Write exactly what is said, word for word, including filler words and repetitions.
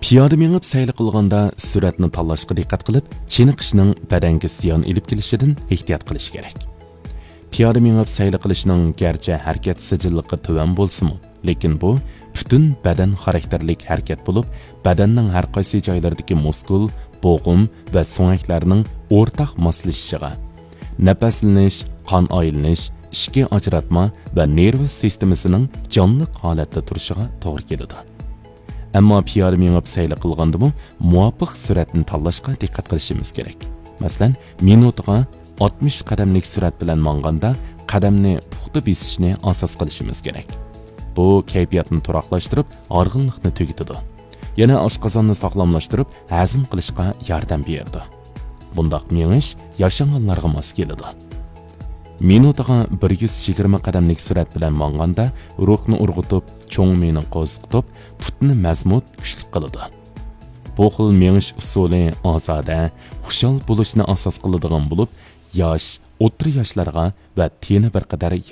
پىيادە مېڭىپ سەيلە قىلغاندا سۈرئەتنى تاللاشقا دىققەت قىلىپ، چېنىقىشنىڭ بەدەنگە زىيان ئېلىپ كېلىشىدىن ئېھتىيات قىلىش كېرەك. پىيادە مېڭىپ سەيلە قىلىشنىڭ گەرچە ھەرىكەت سىجىللىقى تۆۋەن بولسىمۇ، لېكىن بۇ پۈتۈن بەدەن خاراكتېرلىك ھەرىكەت بولۇپ، بەدەننىڭ ھەر قايسى جايلىرىدىكى مۇسكۇل، بوغۇم ۋە سۆڭەكلەرنىڭ ئورتاق ماسلىشىشىغا، نەپەسلىنىش، قان ئايلىنىش، ئىچكى ئاجراتما ۋە نېرۋا سىستېمىسىنىڭ جانلىق ھالەتتە تۇرۇشىغا توغرا كېلىدۇ. ئەمما پىيادە مېڭىپ سەيلە قىلغاندىمۇ مۇۋاپىق سۈرئەتنى تاللاشقا دىققەت قىلىشىمىز كېرەك. مەسىلەن، مىنۇتىغا ئاتمىش قەدەملىك سۈرئەت بىلەن ماڭغاندا قەدەمنى پۇختا بېسىشنى ئاساس قىلىشىمىز كېرەك. بۇ كەيپىياتنى تۇراقلاشتۇرۇپ، ھارغىنلىقنى تۈگىتىدۇ. يەنە ئاشقازاننى ساغلاملاشتۇرۇپ، ھەزىم قىلىشقا ياردەم بېرىدۇ. بۇنداق مېڭىش ياشانغانلارغا ماس كېلىدۇ. مىنۇتىغا بىر يۈز يىگىرمە قەدەملىك سۈرئەت بىلەن ماڭغاندا روھنى ئۇرغۇتۇپ، چوڭ مىيىنى قوزغىتىپ، پۇتنى مەزمۇت، كۈچلۈك قىلىدۇ. بۇ خىل مېڭىش ئۇسۇلى ئازادە، خۇشال بولۇشنى ئاساس قىلىدىغان بولۇپ، ياش، ئوتتۇرا ياشلارغا ۋە تېنى بىر قەدەر